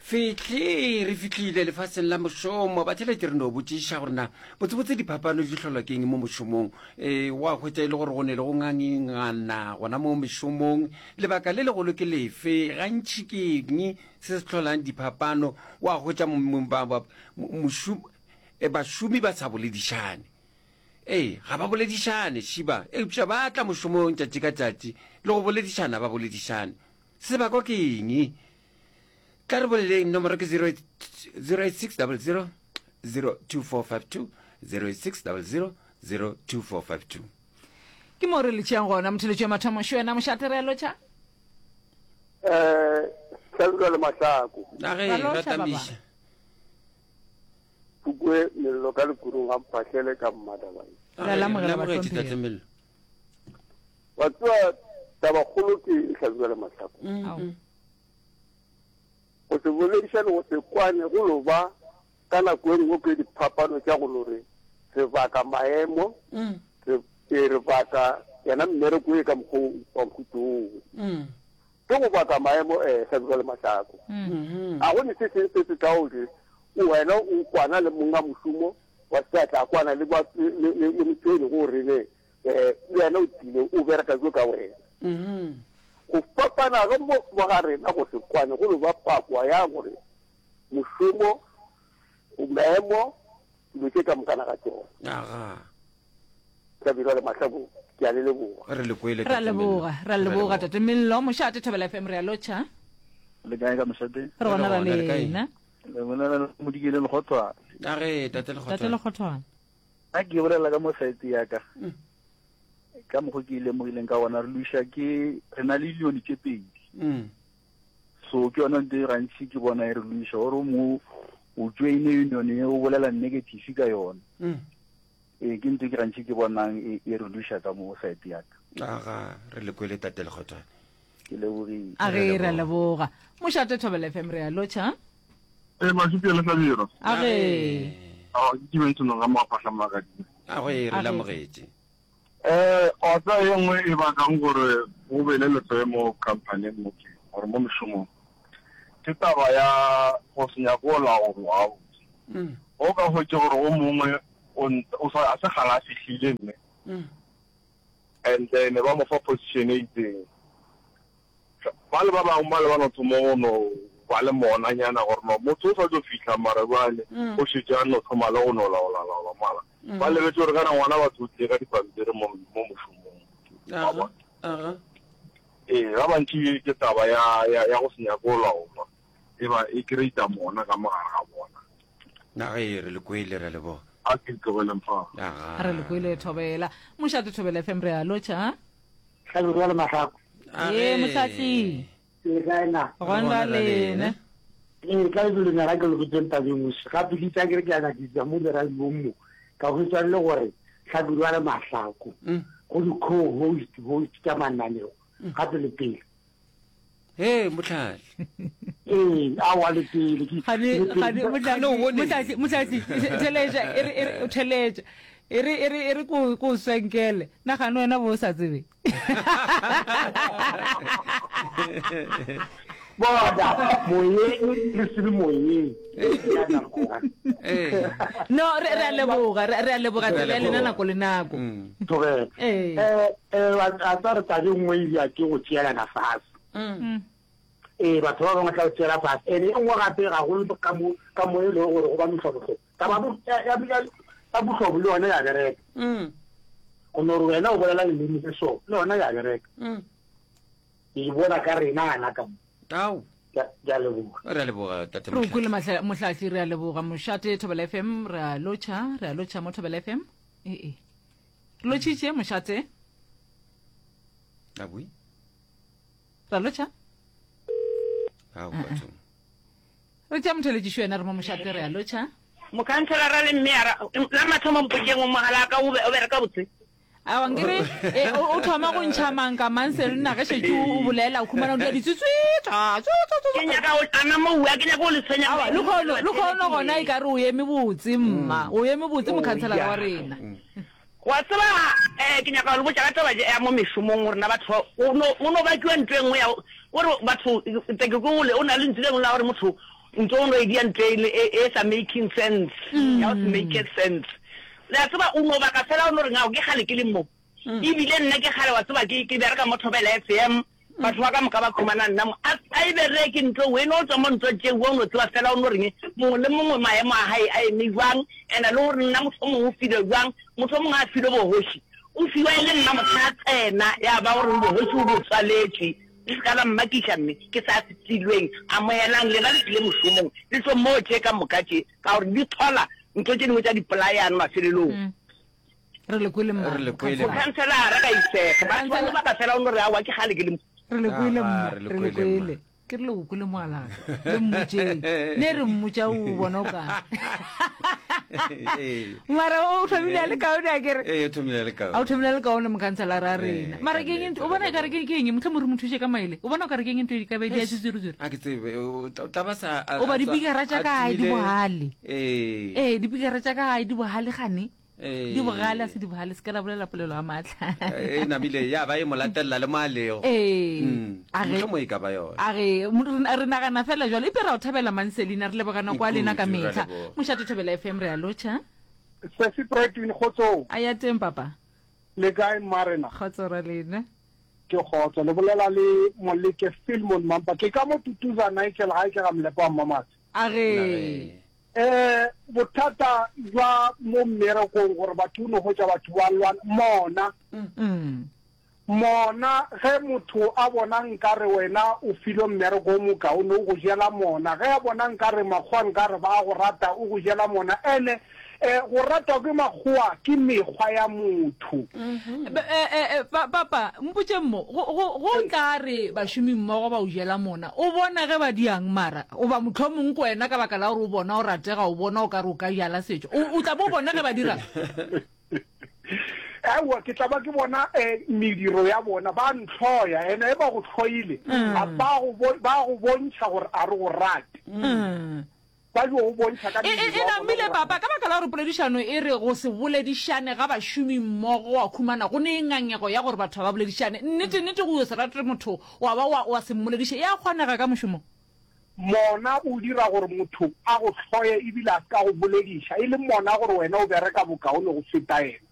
Fihle, re fihlile lefaseng la mošomo. Batheeletši re no botšiša gore na botsebotse diphapano di hlolwa ke eng mo mošomong. E, wa hwetša e le gore go ne le go ngangingana gona mo mešomong. Lebaka le legolo ke lefe? Gantši ke eng se se hlolang diphapano? Wa hwetša e, bašomi ba sa boledišane. Ee, ga ba boledišane, Šiba, eupša ba tla mošomong tšatši ka tšatši le go boledišana ba boledišane. Sebakwa ke eng? Tla re boleleng, nomoro ke 086 00 02452 086 00 02452. Ke mo re le tšeang gona motheletši wa mathomo šo wena mošate re a lotšha. Eh, Hlabirwa le Mahlako. A ge Ra lotšha, ra tamiša. Pukwe mello ka lekurung ga mphahlele ka mmadabae. A Re a ge, lamogela re amogetše bahlomphegi. Tate Mello. Wa tseba tabakgolo ke eng Hlabirwa le Mahlako? Ao. Go se boledišane, go se kwane, go no ba ka nako e nngwe ke diphapano tša go no re re baka maemo, re, ee, re baka yena mmereko e ka mokgwa o wa mohuta oo. Ke go baka maemo, ee, Hlabirwa le Mahlako. A go ne se seng se se tla gore wena o kwana le monga mošomo wa se a tla kwana le, ba, le, le, le motho e lego gore ne eh, le yena o tlile o bereka jo ka wena. Go fapana ge mo mo ga rena go se kwane go no ba pakwa ya gore mošomo, maemo, dilo tše ka mokana ga tšona. Aga. Hlabirwa le Mahlako, ke a le leboga. Re le kwele, Ra Tate Mello. leboga, ra leboga Tate Mello. Mošate Thobela FM re a lotšha. Le kae ka mošate? Re gona ra Re gona, re kae? lena. Le bolela le Modikele Lekgothwane. Age, Tate Tate Lekgothwane. Lekgothwane. A ke bolela ka mo site ya ka. Ka mokgo ke lemogileng ka gona re lwiša ke re na le union tše pedi. Mm. So ke yona nto e gantši ke bona e re lwiša gore o mongwe o joine union e o bolela negative ka yona. Mm. Ee ke nto ke gantši ke bonang e, e re lwiša ka mo site ya ka. Aga, re le kwele Tate Lekgothwane. Ke lebogile. A ge re a leboga. Mošate Thobela FM re a lotšha. Ee, Mašupje le Hlabirwa. A ge. Ao, ke Dimension ga Moapahla Magadima. A ge re A ge. lamogetše. Eh, wa tseba ye nngwe e bakang gore go be le lehloyo mo company-eng mo ke gore mo mešomong ke taba ya go se nyake go laolwa gabotse. O ka hwetše gore o mongwe o o sa a se kgale a fihlile mme and then ba mo fa position e itseng. Bale ba bangwe bale ba no thoma go no ba le monanyana gore no motho o sa tšo fihla mara bjale o šetše a no thoma le go no laola-laola mara ba lebetše gore kana ngwana batho o tlile ka dipampiri mo mo mošomong. Wa bona? Ee, ba bantši ke taba ya ya ya go se nyake go laolwa e ba e creata mona ka mo gare ga bona. Na ge re le kwele re a leboga. A ke tlogeleng fa. Aga. Re le kwele Thobela. Mošate Thobela FM re a lotšha. Hlabirwa le Mahlako. Ee, Mohlahli. Le kae na? Gona Gona lena. Ee, ka lebelo nyaka ke loketseng tabeng moši. Gape ke itse ke re ke a nyakisa mo diradiong mo. Ka hwetša le gore Hlabirwa le Mahlako go di-co-host host tša mananeo gape le pele. Hee, Mohlahli. Ee, aowa le pele. Ke- Gane, le pele. gane, Gane o bone. Mohlahli, Mohlahli, theletša, e re, e re, o theletša. E re, e re, e re ko, ko swenkele. Na gane wena bo o sa tsebe? Bona, moyeng le se le moyeng. Ya nako. Ee. No, re, re a leboga, re, re a leboga Re a tsebe ya lena leboga. nako le nako. Thobela. Ee. Eh, eh, a tsa re tabe nngwe e ya ke go tšeelana fase. Mm. Ee, batho ba bangwe tla go tšeela fase. Ene e nngwe gape gagolo ka mo ka mo e lego gore go ba mehlobohlobo. Taba bo- ya ya ya ya bohlobo le yona ya bereka. Mm. Go no re wena o bolela leleme le so, le yona ya bereka. Mm. Ke e bona ka rena gana ka mo. Ao. Ke a leboga. Re a leboga Tate Re o kwele Mohlahli. Mahla- Mohlahli, re a leboga. Mošate Thobela FM, re a lotšha, re a lotšha mo Thobela FM. Ee. Re lotšhitše mošate. A bui. Ra lotšha. Ao bathong. Re tšea motheletšišo yena re mo mošate re a lotšha. Mokhanselara le mmeyara, la mathomo mpotšeng mogala ka o be o bereka botse. Aowa nkere e, o, o thoma go ntšha manka mang se nna ge šetše o bolela o khumana o dira ditswitswitsa Ke nyaka go ana moua, ke nyaka go le tshwenya Aowa lekhono lekhono gona e ka re o eme botse mma o eme botse mokhanselara wa rena. Wa tseba, eh, ke nyaka go le botša ka taba ya mo mešomong, gore na batho ba, go no, go no bakiwa ntho e nngwe ya, gore batho, ke, ke, o na le lentšu le lengwe la gore motho. Ntho o no e dia ntho e e e sa making sense, ya go se make sense. Le a tseba, o no baka fela o no reng, ao, ke kgale ke le mo. Ebile nna ke kgale wa tseba ke ke bereka mo Thobela FM, batho ba ka moka ba khumana nna mo. A a e bereke ntho eo, e no tswa mo ntho tšeo, o no tseba fela o no reng, mongwe le mongwe maemo a hae a eme jwang, and-e le gore nna motho o mongwe o filwe jwang, motho o mongwe a filwe bogoši, o fiwa e le nna mohla a tsena, ya ba gore bogoši o bo tswaletšwe. Le se ka la mmakiša, mme ke sa se filweng. Amogelang, lena le tlile mošomong, le tlo moo tše ka moka tše, ka gore di hlola ntho tše dingwe tša dipolayano mafelelong. Re le kwele mma. Re le kwele mma. Mokhanselara ka isega. Batho ba baka fela o no re aowa ke kgale ke le mo. Re le kwele mma. Re le Re le kwele mma. kwele. Ke rile o kwele moalaka. Le mmotšeng. Ne re mmotša o bona o ka. Ee. Mara o thomile a le kaone a kere. Ee, o thomile a le kaone. A o thomile a le kaone mokhanselara a rena. Ee, Mara ke eng o bona e kare ke ke eng mohlomong re mo thuše ka maele. O bona o kare ke eng ntho e ka be di a tswitswiri-tswiri. A ke tsebe, o tla o tla ba sa a- O ba a tswa- dipikara tša a ka gae di tswile- bogale. Ee. Ee, dipikara tša ka gae di bogale gane. Ee. Di bogale a se di bogale se ka la bolela polelo ya maatla. E namile ya ba e mo latelela le mo a lego. Ee. Mm. A re- Mohlomong e ka ba yona. A re re nagana fela jalo epe ra o thabela Manselina re leboga nako ya lena ka Kudu, ra metlha. leboga. Mošate Thobela FM re a lotšha. Sesi Bradwin kgotsong. A ya teng papa. Le kae mmarena? Kgotso ra lena. Ke kgotso. Le bolela le Moleke Filmon Mampa. Ke ka mo Tutuza Nigel gae ke ga Molepo wa Mmamatse. A re. Eh bothata jwa mo mmerekong gore batho o no hwetša batho ba lwana mona. Mm. Mona ge motho a bona nkare wena o filwe mmereko o mokaone o go jela mona, ge a bona nkare makgowa nkare ba a go rata o go jela mona, ene eh go ratwa ke makgowa ke mekgwa ya motho. Eh, eh, eh, pa, papa, mpotšeng mo, go, go, go tla re bašomi mmogo ba o jela mona, o bona ge ba diang mara, goba mohlomong ko wena ka baka la gore o bona o ratega, o bona o ka re o ka jala setšo, o, o tla bo o bona ge ba dirang? Aowa, ke tla ba ke bona eh, mediro ya bona, ba ntlhoya, ene e ba go hloile, a ba go bo, ba go bontšha gore a re go rate. Ba yo go bontšha ka E, e, e mediro ya bona namile gore papa, ka baka la gore poledišano e re go se boledišane ga bašomi mmogo wa khumana go ne ngangego ya gore batho ga ba boledišane. Nnete, nnete go yo se rate motho wa ba wa, wa se mmolediše, e a kgonega ka mošomong. Mona o dira gore motho a go hloye ebile a se ka go bolediša, e le mona gore wena o bereka bokaone go feta yena.